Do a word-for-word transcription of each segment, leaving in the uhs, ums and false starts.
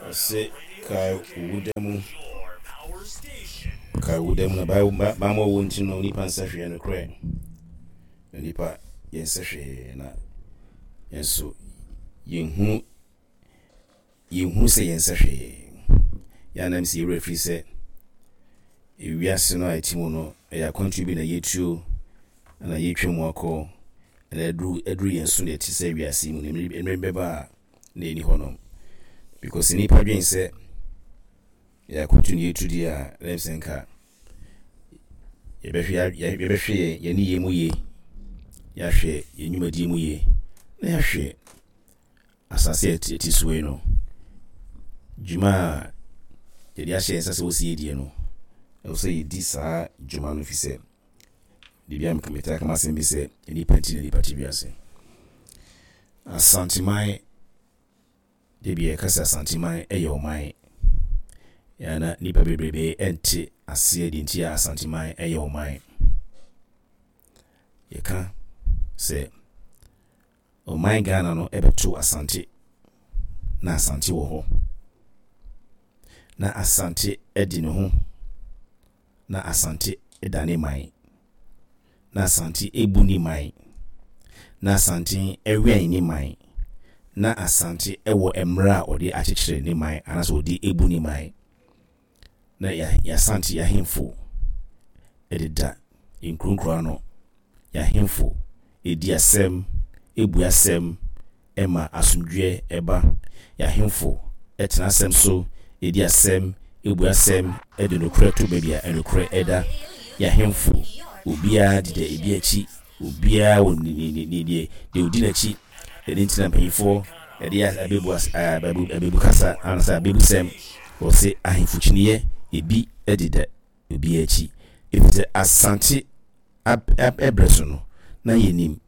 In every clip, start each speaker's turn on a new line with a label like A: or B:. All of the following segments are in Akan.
A: Ɔse kae wo da mu, kae wo da mu na bammɔ wɔ nti no nipa nsɛ hwee. Nokorɛ na nipa yɛnsɛ hwee, na yɛn nso yɛnhunu yɛnhunu sɛ yɛnsɛ hwee. Yɛanam sɛ yɛwerɛ firi sɛ ewiase no a ɛte mu no ɛyɛ akwantuo bi na yɛtuo na yɛtwa mu akɔ, na aduru aduru yɛn so na ɛte sɛ wiase mu no mmerɛ bɛba a na ɛni hɔ nom, because nipa dwen sɛ yɛ akwantuo na yɛtu deɛ a, na sɛ nka yɛbɛhwɛ yɛbɛhwɛ yɛn ne yɛn mu yie, yɛahwɛ yɛn nnwumadie mu yie, na yɛahwɛ asase a ɛte so yi no dwuma a yɛde ahyɛ yɛn nsa sɛ wɔsi yɛdie no, ɛwɔ sɛ yɛdi saa dwuma no, fi sɛ biribi a metaa kama asɛm bi sɛ nipa nti na nipa te wiase. Asanteman de bi yɛka sɛ Asanteman ɛyɛ ɔman yana nipa bebrebe ɛnte aseɛ deɛ nti a Asanteman ɛyɛ ɔman. Yɛka sɛ ɔman Ghana no ɛbɛto Asante na Asante wɔ hɔ, na Asante ɛdi ne ho, na Asante ɛda ne man, na Asante ebu ne man, na Asante ɛwɛn ne man, na Asante ɛwɔ mmerɛ a ɔde akyekyere ne man anaasɛ ɔde ebu ne man, na yɛasante yɛahemfo ɛdeda nkuronkuro ano, yɛahemfo edi asɛm, ebu asɛm, ɛma asomdwoeɛ ɛba, yɛahemfo ɛtena asɛm so, edi asɛm, ebu asɛm, ɛde nokorɛ to baabi a ɛnokorɛ ɛda. Yɛahemfo obiara deda ebi akyi, obiara wɔ ne ne ne deɛ deɛ odi n'akyi. Ɛne ntina mpanyinfoɔ ɛde abebu abebu abebu kasa anasa abebusɛm wɔsɛ ahemfo kyiniiɛ ebi ɛdeda obiara akyi, efisɛ Asante ɛbrɛ so no na yɛnim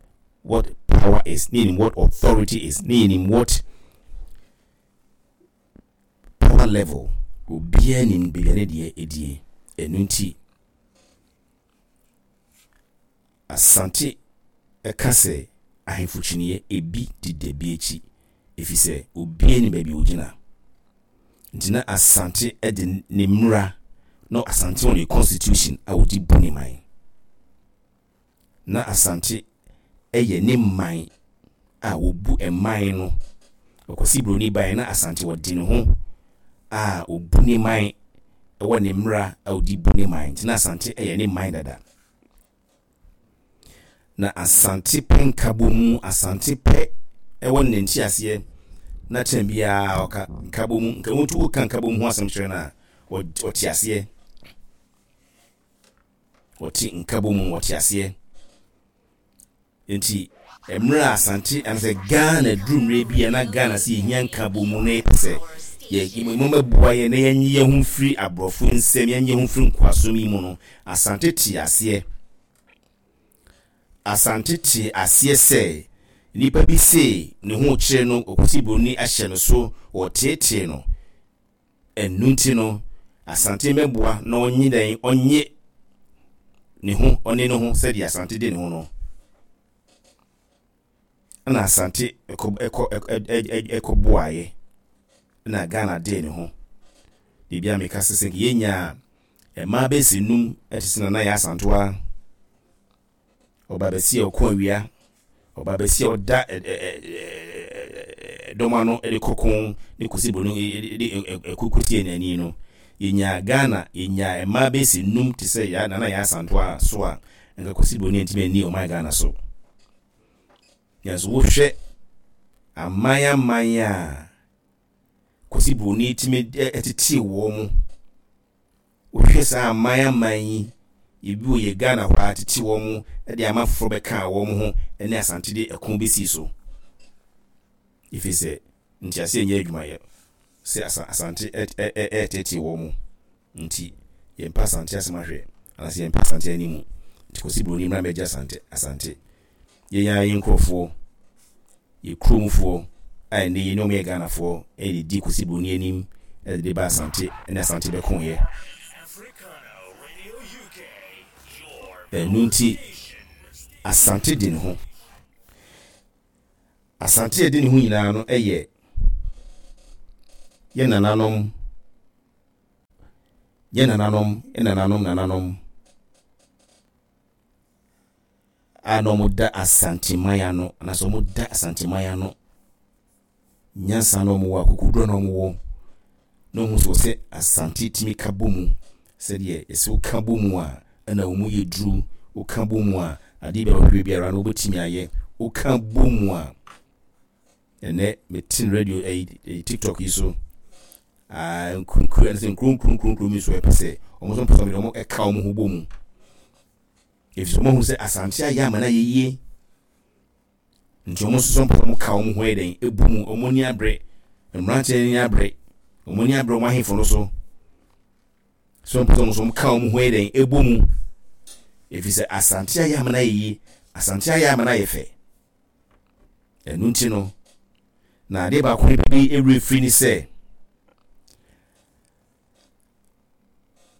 A: what power is, na yɛnim what authority is, na yɛnim what power level. Obiara nim baabi a ne deɛ ɛdie. Ɛno nti Asante ɛka sɛ ahemfo kyiniiɛ ebi deda bi akyi, ɛfiri sɛ obiara nim baabi a ogyina. Nti na Asante de ne mmara na Asante wɔ ne constitution a wɔde bu ne man, na Asante ɛyɛ ne man a wɔbu man no. Ɔkwasi Buroni ban na Asante wɔde ne ho a ɔbu ne man, ɛwɔ ne mmara a ɔde bu ne man. Nti na Asante ɛyɛ ne man dada, na Asante pɛ nkabɔ mu, Asante pɛ ɛwɔ ne nteaseɛ, na kyɛn biara ɔka nkabɔ mu nkabɔ mu woka nkabɔ mu ho asɛm kyerɛ no a, ɔte aseɛ. Ɔte nkabɔ mu, ɔte aseɛ. Nti mmerɛ a Asante anasɛ Ghana duru mmerɛ bi a na Ghana sɛ yɛhia nkabɔ mu na yɛpɛ sɛ yɛ mɔmɛboa yɛ na yɛnyi yɛn ho firi aborɔfo nsɛm, yɛnyi yɛn ho firi nkoasom yi mu no, Asante te aseɛ. Asante te aseɛ sɛ nipa bi se ne ho kyerɛ no, Ɔkwasi Buroni ahyɛ no so, ɔteetee no. Ɛnu nti no Asante mɛboa na ɔnye dɛn, ɔnye ne ho, ɔne ne ho sɛdeɛ Asante de ne ho no. Ɛna Asante ɛkɔ ɛkɔ ɛkɔ boaeɛ ɛna Ghana de ne ho. Biribi a meka sɛ sɛ yɛnya mmaa bɛsi num ɛte sɛ Nana Yaa Asantewaa, ɔba bɛsi a ɔko awia, ɔba bɛsi a ɔda dɔm ano de kɔko ne Kwasi Buroni de ɛkoko tie n'ani no, yɛnya Ghana yɛnya mmaa bɛsi num te sɛ ya Nana Yaa Asantewaa so a, nka Kwasi Buroni ntumi ani ɔman Ghana so. Nanso wohwɛ aman aman a Kwasi Buroni tumi ɛtete wɔn mu, wohwɛ saa aman aman yi, ebi wɔ yɛ Ghana hɔ a tete wɔn mu de ama foforɔ bɛka wɔn ho ne Asante de ɛko bɛsi so, ɛfiri sɛ nteaseɛ nyɛ adwumayɛ sɛ Asante ɛɛtete wɔn mu. Nti yɛmpɛ Asante asɛm ahwɛ anaasɛ yɛmpɛ Asante animu. Nti Kwasi Buroni mmra mmɛgye Asante. Asante yɛn ara yɛn nkurɔfoɔ, yɛ kuromfoɔ a ɛnɛ yi ne wɔn yɛ Ghanafoɔ, ɛde di Kwasi Buroni anim ɛde de ba Asante ɛne Asante bɛkoeɛ. Ɛno nti Asante de ne ho. Asante a ɛde ne ho nyinaa no yɛ Yɛ nananom, yɛ nananom, yɛ nananom nananom a na wɔda Asanteman ano anaasɛ wɔda Asanteman ano nyansa na wɔwɔ, akokoduro na wɔwɔ na wɔn nso sɛ Asante tumi ka bɔ mu sɛdeɛ yɛsɛ woka bɔ mu a ɛna wɔn yɛ duru. Woka bɔ mu a, adeɛ bi a wɔhwehwɛ biara no wobɛtumi ayɛ. Woka bɔ mu a, ɛnɛ mete radio ɛyi TikTok yi so, nkunkun ɛne sɛ nkuro nkuro nkuro nkuro mi so ɛpɛ sɛ wɔn nso mpɛ sɛ wɔn ɛka wɔn ho bɔ mu, efisɛ wɔn ahu sɛ Asante ayɛ ama no ayɛ yie, nti wɔn nso so mpɛ sɛ wɔn ka wɔn ho yɛ dɛn ebu mu. Wɔn ani abere, mmeranteɛ ani abere, wɔn ani abere wɔn ahemfo no so so mpɛ sɛ wɔn nso wɔn ka wɔn ho yɛ dɛn ebu mu, efisɛ Asante ayɛ ama no ayɛ yie, Asante ayɛ ama no ayɛ fɛ. Ɛno nti no na adeɛ baako bi ewura firi ne sɛ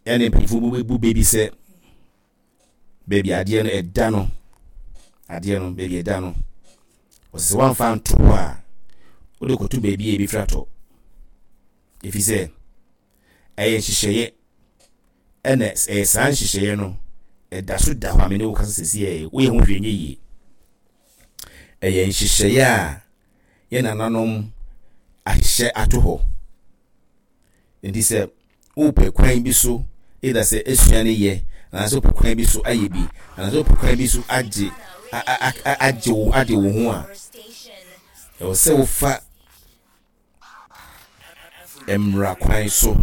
A: ɛne mpanyinfoɔ bu beebi sɛ beebi adeɛ no ɛda no, adeɛ no beebi ɛda no, wɔsɛ sɛ wɔamfa nto hɔ a, wode kɔto beebi a ebi fira tɔ, efi sɛ ɛyɛ nhyehyɛeɛ. Ɛna ɛyɛ saa nhyehyɛeɛ no ɛda so da hɔ a mene wo kasa sɛsi ɛ woyɛ ho hwee nyɛ yie. Ɛyɛ nhyehyɛeɛ a yɛ nananom ahyehyɛ ato hɔ, nti sɛ wopɛ kwan bi so either sɛ esua ne yɛ anaasɛ wopɛ kwan bi so ayɛ bi anaasɛ wopɛ kwan bi so agye agye wo agye wo ho a, ɛwɔ sɛ wofa mmara kwan so,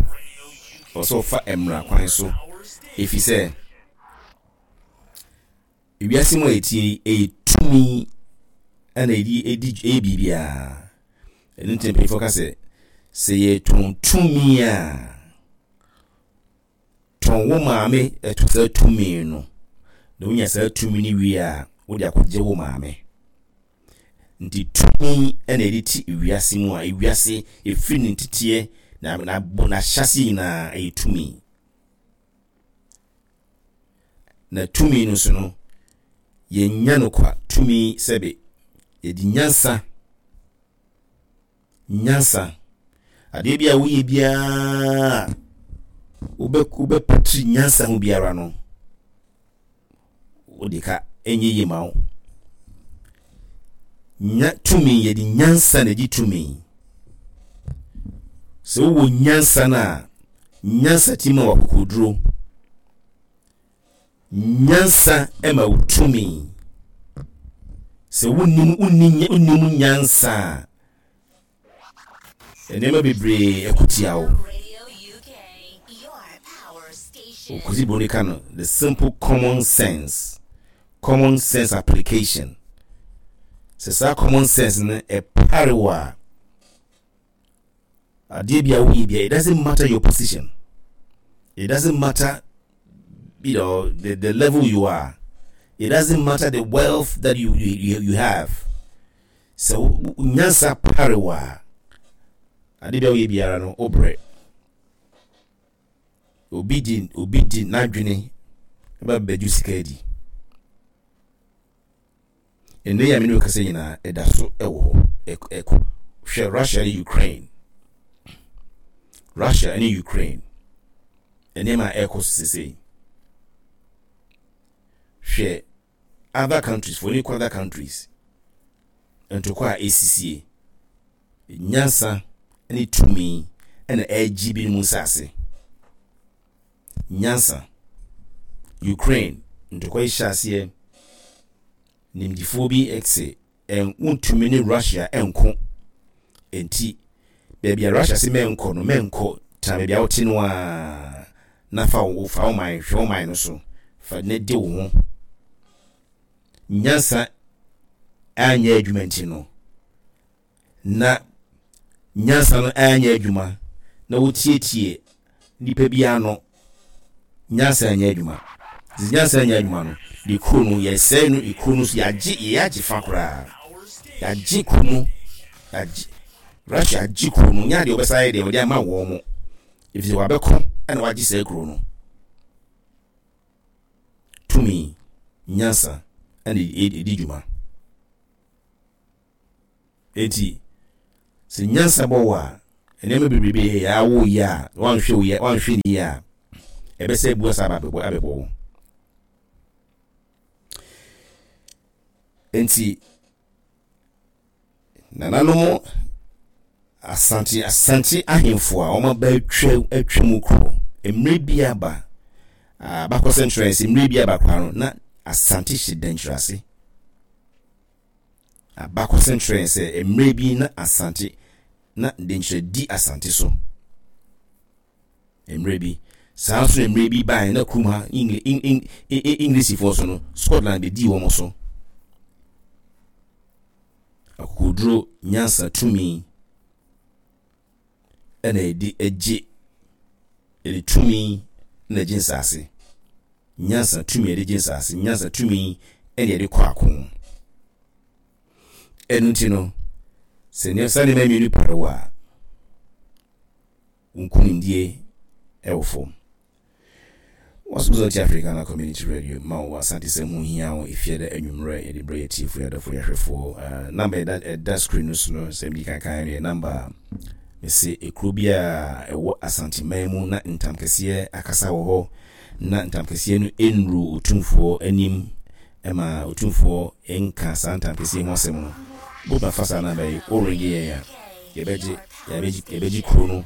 A: ɛwɔ sɛ wofa mmara kwan so, ɛfiri sɛ ewiase mu a yɛtie yi, ɛyɛ tumi ɛna ɛdi ɛdi ɛyɛ biribiara. Ɛno nti mpanyinfoɔ ka sɛ sɛ yɛtɔn tumi a, tɔn wo maame ɛto saa tumi no, na wonya saa tumi no wie a, wode akɔgye wo maame. Nti tumi ɛna ɛde ti ewiase mu a, ewiase efiri ne nteteɛ na na n'ahyɛse nyinaa ɛyɛ tumi. Na tumi no so no, yɛnya no kwa. Tumi sɛbe yɛde nyansa, nyansa adeɛ bi a woyɛ biara, wobɛ wobɛpatiri nyansa ho biara no, wode ka ɛnyɛ yie ma wo. Nya tumi, yɛde nyansa na ɛgye tumi. Sɛ wowɔ nyansa no a, nyansa ti ma wakokoduro, nyansa ma wo tumi. Sɛ wonnim wonni wonnim nyansa a, nneɛma bebree ɛko tia wo. Okosi Broni ka no the simple common sense, common sense application. Sɛ saa common sense no ɛpare wo a, adeɛ bi a woyɛ bia, it doesn't matter your position, it doesn't matter you know the, the level you are, it doesn't matter the wealth that you you, you have, sɛ nyansa pare wo a, adeɛ bi a woyɛ biara no, wobrɛ. Obi di obi di n'adwene ɛba bɛgye sika adi. Ɛnɛ yi a mene wo kasa nyinaa, ɛda so ɛwɔ hɔ ɛkɔ. Hwɛ Russia ne Ukraine, Russia ne Ukraine nneɛma a ɛkɔ so sesei. Hwɛ other countries for ne kɔ other countries ntokwa a ɛsisie. Nyansa ne tumi ɛna ɛregye binom nsase. Nyansa. Ukraine ntokwa yi hyɛ aseɛ, nimdifoɔ bi se wontumi ne Russia nko, nti baabi a Russia se mɛnkɔ no, mɛnkɔ. Tena baabi a wote no a na fa wo fa wo man, hwɛ wo man no so, fa ne de wo ho. Nyansa anyɛ adwuma nti no, na nyansa no anyɛ adwuma na wotietie nipa bi ano. Nyansa anyɛ adwuma. Nti nyansa anyɛ adwuma no de, kuro no yɛsɛe no. Kuro no so yɛagye, yɛagye fa koraa, yɛagye kuro no, yɛagye Russia agye kuro no. Nyɛ adeɛ wɔbɛsa yɛ deɛ wɔde ama wɔn mo, efisɛ wabɛko ɛna wagye saa kuro no. Tumi, nyansa ɛna ɛdi dwuma. Eti sɛ nyansa bɔ wɔ a, Nneɛma bebrebe yɛ awo yɛ a wanhwɛ wo yɛ wanhwɛ ne yie a, ɛbɛsɛ bu asa aba abɛbɔ abɛbɔ wo. Nti nananom Asante Asante ahemfo a wɔn aba atwa atwa mu kuro, mmerɛ bi aba, abakɔsɛm kyerɛ sɛ mmerɛ bi aba koraa no, na Asante hyɛ Dankyerɛ. Abakɔsɛm kyerɛ sɛ mmerɛ bi na Asante na Dankyerɛ di Asante so. Mmerɛ bi saa nso na mmerɛ bi baeɛ na kurom ha Englishfoɔ so no, Scotland bɛdii wɔn so. Akokoduro, nyansa, tumi ɛna yɛde agye, yɛde tumi na agye nsase. Nyansa, tumi yɛde gye nsase. Nyansa, tumi ɛna yɛde kɔ ako. Ɛno nti no, sɛ nneɛma saa nneɛma mmienu pare wɔ a, nkunimdie ɛwɔ fam. Wɔso sɛ ɔte Africana Community Radio ma wo Asante sɛ ho hia wo efie dɛ anwummerɛ yɛde brɛ yɛ tiefoɔ, yɛ adɔfoɔ, yɛhwɛfoɔ. Number ɛda ɛda screen no so no, sɛ mdi kankan no yɛ number a mese ekuro bi a ɛwɔ Asanteman mu na ntam kɛseɛ akasa wɔ hɔ, na ntam kɛseɛ no nnuru Otumfoɔ anim ɛma Otumfoɔ nka saa ntam kɛseɛ ho asɛm no, wobɛtumi afa saa number yi, woringe yɛn a, yɛbɛgye yɛbɛgye yɛbɛgye kuro no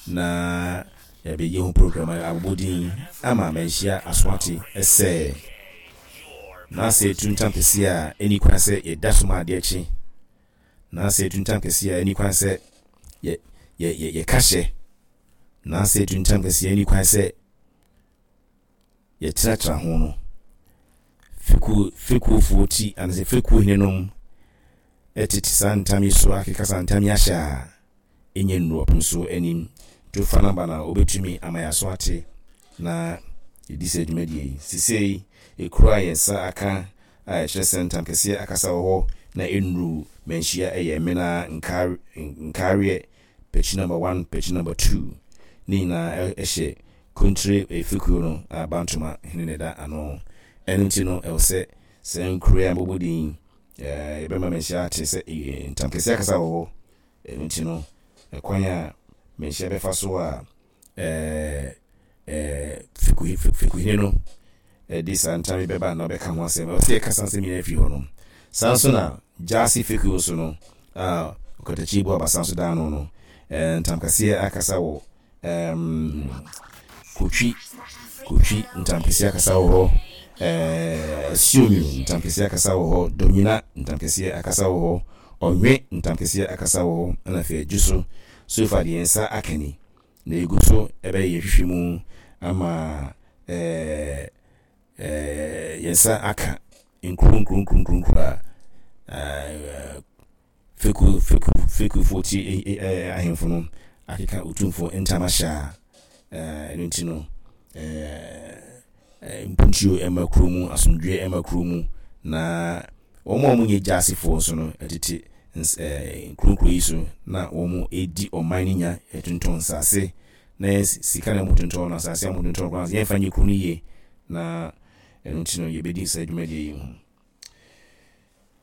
A: na yɛbɛyɛ ho program abobɔ din ama manhyia asoate ɛsɛ na sɛ etu ntam kɛseɛ a ɛni kwan sɛ yɛda so ma adeɛ kye, na sɛ etu ntam kɛseɛ a ɛni kwan sɛ yɛ yɛ yɛ yɛka hyɛ, na sɛ etu ntam kɛseɛ ɛni kwan sɛ yɛtenatena ho no, fekuo fekuofoɔ ti anaasɛ fekuo henenom ɛtete saa ntam yi so akeka saa ntam yi ahyɛ a ɛnyɛ nnuru ɔpem so anim. To fa number na wobɛtumi ama yɛ aso ate na yɛdi sɛ dwumadie yi. Sisei ekuro a yɛn nsa aka a ɛkyerɛ sɛ ntam kɛseɛ akasa wɔ hɔ na ɛnnuru manhyia ɛyɛ Mena Nkaareɛ, pɛkyi number one, pɛkyi number two. Ne nyinaa ɛhyɛ Kontire efekuo no a Bantoma hene ne da ano. Ɛno nti no, ɛwɔ sɛ sɛ nkuro a mbɔbɔ din yɛbɛma manhyia ate sɛ ntam kɛseɛ akasa wɔ hɔ. Ɛno nti no, ɛkwan a manhyia bɛfa so a ɛɛ ɛɛ fekuhene no ɛde saa ntam yi bɛba na ɔbɛka ho asɛm, ɛwɔ sɛ yɛka saa nsɛm nyinaa firi hɔ no. Saa nso na Gyaase fekuo so no a Ɔkatakyi bu abasa nso da ano no, ɛɛ ntam kɛseɛ akasa wɔ ɛɛm Kotwi Kotwi ntam kɛseɛ akasa wɔ hɔ, ɛɛ Asuonwunu ntam kɛseɛ akasa wɔ hɔ, Domina ntam kɛseɛ akasa wɔ hɔ, Ɔnwe ntam kɛseɛ akasa wɔ hɔ, ɛna afei Adwo so. So fa deɛ nsa aka ni na egu so ɛbɛyɛ yɛn hwehwɛ mu ama ɛɛ ɛɛ yɛn nsa aka nkuro nkuro nkuro nkuro nkuro a ɛɛ feku feku fekufoɔ ti ɛɛ ahemfo no akeka Otumfoɔ ntam ahyɛ a, ɛɛ ɛno nti no, ɛɛ mpuntuo ɛma kuro mu, asomdwoeɛ ɛma kuro mu, na wɔn a wɔnyɛ gyasefoɔ nso no ɛtete ɛɛ nkuro nkuro yi so na wɔn edi ɔman no nya, ɛtontɔn nsaase na yɛn sika na wɔtontɔn no, asase a wɔtontɔn koraa yɛmfa nyɛ kuro no yie, na ɛno nti no yɛbɛdi saa dwumadie yi ho.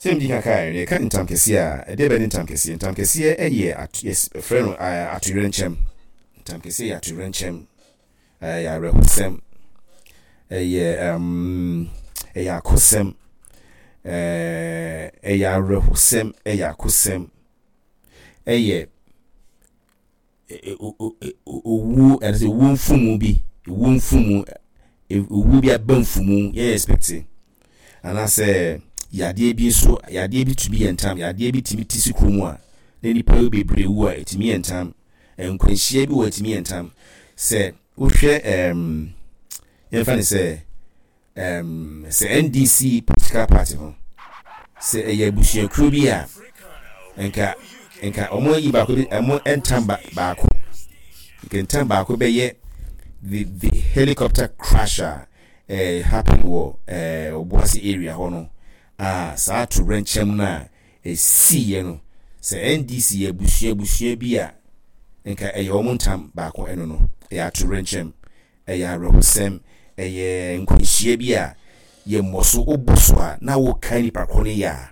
A: Sɛ mdi kaka yɛ yɛka ntam kɛseɛ a, ɛdeɛ bɛ ne ntam kɛseɛ? Ntam kɛseɛ ɛyɛ yɛfrɛ no atoyerɛnkyɛm. Ntam kɛseɛ yɛ atoyerɛnkyɛm, ɛyɛ awerɛhosɛm, ɛyɛ ɛm ɛyɛ akosɛm, ɛɛ ɛyɛ awerɛhosɛm, ɛyɛ akosɛm, ɛyɛ owuo, ɛsɛ owuo mfumu bi, owuo mfumu, owuo bi aba mfumu yɛn expect, anaasɛ yadeɛ bi nso, yadeɛ bi tumi yɛ ntam, yadeɛ bi tumi ti si kurom a na nipa bebree wu a, ɛtumi yɛ ntam. Nkwanhyia bi wɔ ɛtumi yɛ ntam. Sɛ wohwɛ ɛɛm yɛmfa ne sɛ ɛɛm sɛ N D C political party no, sɛ ɛyɛ abusuakuo bi a, nka nka wɔn ayi baako bi, wɔn ntam ba baako, nka ntam baako bɛyɛ the the helicopter crash a ɛɛ happen wɔ ɛɛ Obuasi area hɔ no a, saa atowerɛnkyɛm no a esiiɛ no, sɛ N D C yɛ abusua abusua bi a, nka ɛyɛ wɔn ntam baako. Ɛno no ɛyɛ atowerɛnkyɛm, ɛyɛ awerɛhosɛm, ɛyɛ nkwanhyia bi a yɛmmɔ so, wobɔ so a na woka nipa ko no yɛ a,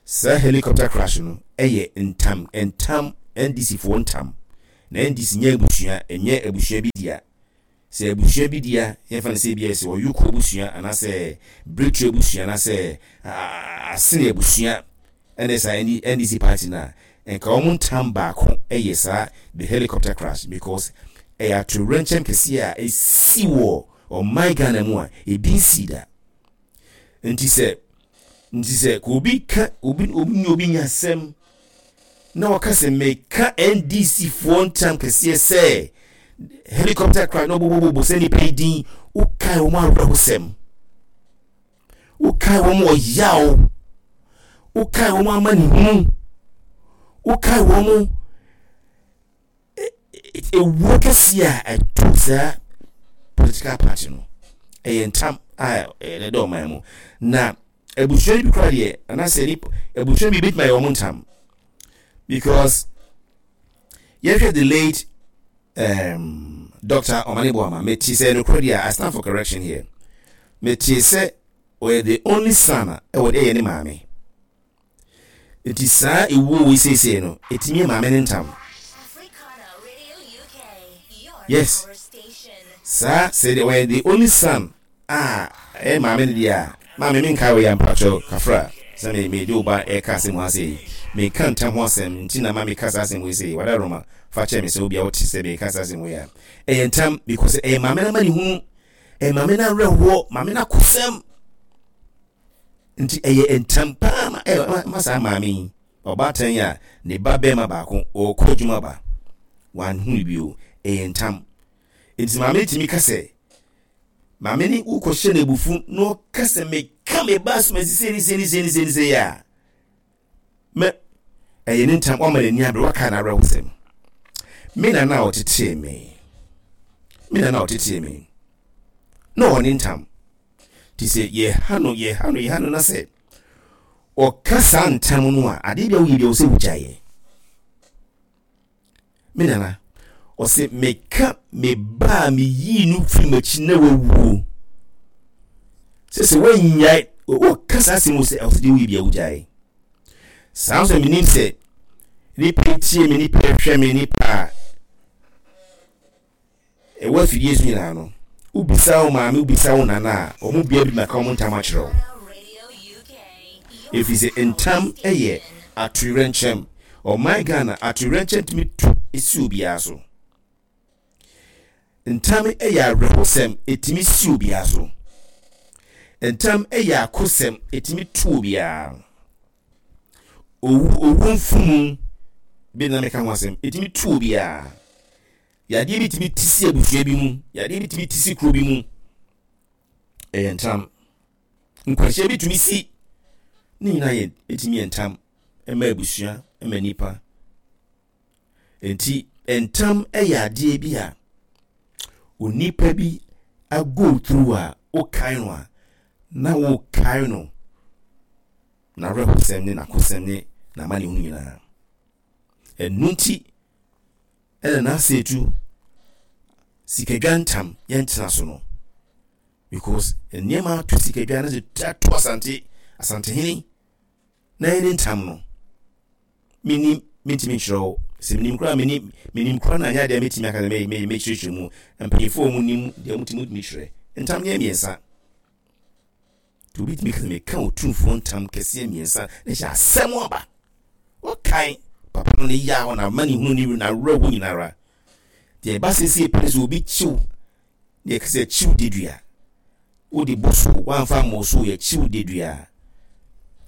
A: saa helicopter crash no ɛyɛ ntam ntam N D C foɔ ntam na N D C nyɛ abusua, ɛnyɛ abusua bi dea. Sɛ abusua bi dea, yɛmfa no sɛ bi sɛ Ɔyoko abusua anaasɛ Bretu abusua anaasɛ Asene abusua ɛne saa N D C party no a, nka wɔn ntam baako ɛyɛ saa the helicopter crash, because ɛyɛ atowerɛnkyɛm kɛseɛ a ɛsi wɔ ɔman Ghana mu a ebi nsi da. Nti sɛ nti sɛ ka obi ka obi, obi nye obi nya asɛm na wɔka sɛ meka N D C foɔ ntam kɛseɛ sɛ helicopter crash na ɔbɔbɔbɔbɔ sɛ nipa yi din, wokae wɔn awerɛhosɛm, wokae wɔn ɔyaw, wokae wɔn amanehunu, wokae wɔn ewuo kɛseɛ a ɛto saa political party no. Ɛyɛ ntam a ɛda ɔman mu na abusua no bi kora deɛ, anaasɛ nipa abusua bi betuma yɛ wɔn ntam, because yɛhwɛ the late um, Doctor Omane Boamah, mete sɛ nokorɛ deɛ, I stand for correction here, mete sɛ ɔyɛ the only son a ɛwɔ ɛyɛ ne maame. Nti saa ewuo wei seesei no ɛtumi yɛ maame ne ntam. Yes, saa sɛ deɛ ɔyɛ the only son a ɛyɛ maame no deɛ a, maame mi nka wɔ yɛ mpakyɛw kafra sɛ me me de wo ba ɛka asɛm ho asɛ yi, meka ntam ho asɛm nti na ma meka saa asɛm wei sɛ wada roma fa kyerɛ me sɛ obi a wote sɛ meka saa asɛm wei a, ɛyɛ ntam because ɛyɛ maame no ma ne hunu, ɛyɛ maame no awerɛhoɔ, maame no akosɛm. Nti ɛyɛ ntam paa ma ɛyɛ ma saa maame yi, ɔbaatan yi a ne ba bɛrima baako ɔrekɔ adwuma ba wanhu bio, ɛyɛ ntam. Nti maame tumi ka sɛ maame ne wokɔhyɛ no abufu na ɔka sɛ meka me ba asomasi sei ne sei ne sei ne sei ne sei a, mɛ ɛyɛ ne ntam, wama n'ani abere, waka n'awerɛhosɛm. Me nana a ɔtetee me, me nana a ɔtetee me na ɔwɔ ne ntam nti sɛ yɛha no, yɛha no, yɛha no na sɛ ɔka saa ntam no a, adeɛ bi a woyɛ bi a wɔ sɛ wogyaeɛ. Me nana ɔsɛ meka me ba a meyii no firi m'akyi na wawuo sɛ sɛ woanyae, wɔka saa asɛm mu sɛ ɛwɔ sɛ deɛ woyɛ bi a wogyae. Saa nso menim sɛ nipa tie me, nipa hwɛ me, nipa a ɛwɔ afidie so nyinaa no, wobisa wo maame, wobisa wo nana a, ɔmo bia bi maka ɔmo ntam akyerɛ wo, ɛfiri sɛ ntam yɛ atowerɛnkyɛm. Ɔman Ghana, atowerɛnkyɛm tumi tu si obiara so. Ntam yɛ awerɛhosɛm, ɛtumi si obiara so. Ntam yɛ akosɛm, ɛtumi tu obiara. Owu, owu mfumu bi na meka ho asɛm, ɛtumi tu obiara. Yadeɛ bi tumi ti si abusua bi mu, yadeɛ bi tumi ti si kuro bi mu, ɛyɛ ntam. Nkwanhyia bi tumi si, ne nyinaa yɛ ɛtumi yɛ ntam ɛma abusua, ɛma nipa. Nti ntam yɛ adeɛ bi a onipa bi ago through a wokae no a na wokae no n'awerɛhosɛm ne n'akosɛm ne n'amanehunu nyinaa. Ɛno nti ɛna n'asɛetu sikadwa ntam yɛntena so no, because nneɛma ato sikadwa na sɛ ato Asante, Asantehene na yɛne ntam no, menim mentumi nkyerɛ wo sɛ menim koraa, menim menim koraa na anyɛ adeɛ a mɛtumi aka sɛ mɛkyerɛkyerɛ mu. Mpanyinfoɔ a wɔn nim deɛ wɔtumi tumi kyerɛ ntam nyɛ mmiɛnsa nti obi tumi ka sɛ meka Otumfoɔ ntam kɛseɛ mmiɛnsa na hyɛ asɛm aba. Wɔkae papa no ne yaw na ama ne hunu ne n'awerɛho nyinara. Deɛ ɛba siesie pɛ sɛ obi kyiw deɛ kɛsɛ kyiw dedua wode bɔ so wamfa mmɔ so yɛ kyiw dedua,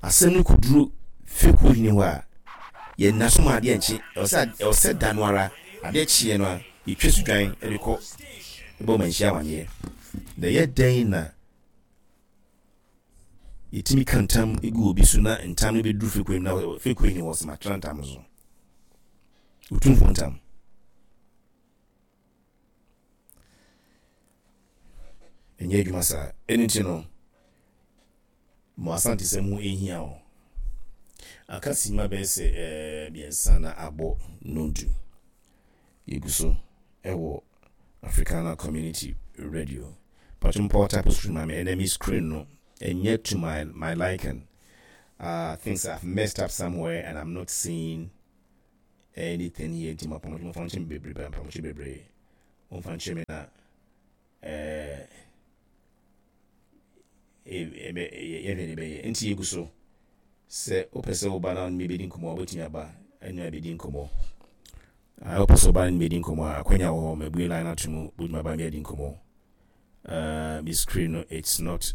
A: asɛm no kɔduru fekuo hene hɔ a, yɛnna so ma adeɛ nkye. ɛwɔ sɛ ɛwɔ sɛ da no ara adeɛ kyeɛ no a yɛtwa so dwan de kɔ bɔ manhyia amanneɛ. Na ɛyɛ dɛn na yɛtumi ka ntam gu obi so na ntam no bɛduru fekuo na fekuo hene wɔ sɛ matena ntam so, Otumfoɔ ntam? Ɛnyɛ adwuma saa. Ɛno nti no mo Asantesɛm ho ɛhia o. Aka sima bɛyɛ sɛ ɛɛ mmiɛnsa na abɔ nondu. Yɛgu so ɛwɔ Africana Community Radio. Patro mpɔ type screen ma me. Ɛnɛ me screen no ɛnyɛ to my my liking. uh, things I've messed up somewhere and I'm not seeing. anything here. Nti mapamɔtwe momfa nkyɛ me bebree, mpamɔtwe bebree momfa nkyɛ me na ɛɛ yɛhwɛ ne bɛyɛ. Nti yɛgu so sɛ wopɛ sɛ woba na ne bɛdi nkɔmmɔ a, wobɛtumi aba ɛne abɛdi nkɔmmɔ. Wopɛ sɛ woba ne bɛdi nkɔmmɔ a, akwanya wɔ hɔ. Mabue line ato mu, wobɛtumi aba ne adi nkɔmmɔ. uh, me screen no, it's not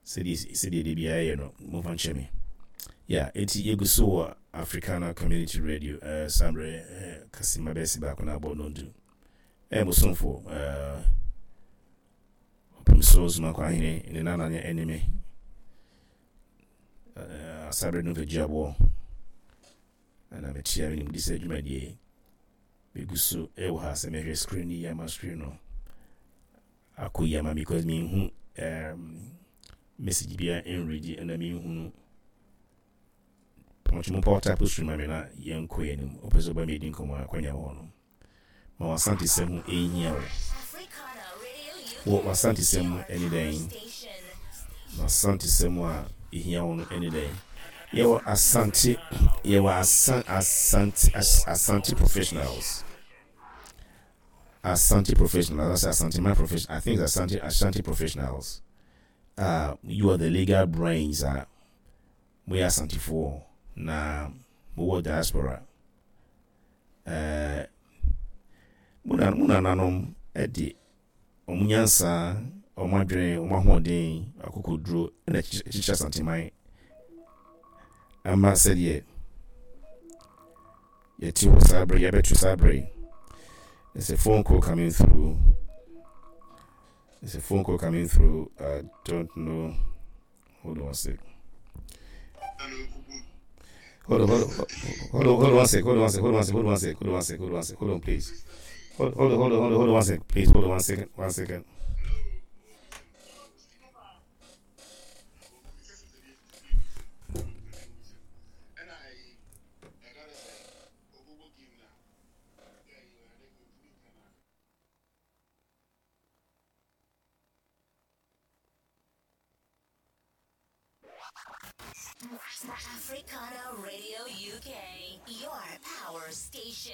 A: sɛdeɛ sɛdeɛ de biara yɛ no, momfa nkyɛ me. Yeah, enti yɛgu so wɔ Africana Community Radio. uh, saa mmerɛ uh, kasima bɛsi baako na abɔ nondu. Ɛyɛ mo somfo uh, ɔpem so Zumakɔ Ahene ne nana ne ɛne me uh, asaberɛ no mfagyi aboɔ ɛna mekyia. Menim de sɛ dwumadie megu so ɛwɔ ha sɛ mehwɛ screen yi ama screen no akɔ yi ama, because menhu um, message bia nredi ɛna menhunu pɔnkye mo power type stream ma me na yɛnkɔ yɛn anim. Wopɛ sɛ woba mɛdi nkɔmmɔ a, akwanya wɔ hɔ no ma w'asantesɛm ho ɛhia wo wɔ w'asantesɛm mu ɛne dɛn, w'asantesɛm a ɛhia wo no ɛne dɛn. Yɛwɔ Asante, yɛwɔ asan asante Asante professionals, Asante professionals, that's Asante man profession. I think it's Asante Ashanti professionals. Uh, you are the legal brains. Uh, we are Asantefoɔ na mowɔ diaspora. Uh, mo nananom de ɔmo nyansa, ɔmo adwene, ɔmo ahoɔden, akokoduro ɛna kyekyere Asanteman ama sɛdeɛ yɛte hɔ saa bere, yɛbɛto saa bere. There's a phone call coming through. There's a phone call coming through. I don't know. Hold on one sec. Hold on, hold on, hold on, hold on one sec. Hold on one sec. Hold on one sec. Hold on one sec. Hold on one sec. Hold on one sec. Hold on, please. Hold, hold on, hold on, hold on, hold on one sec. Please hold on one second. One second.
B: Africana Radio U K, your power station.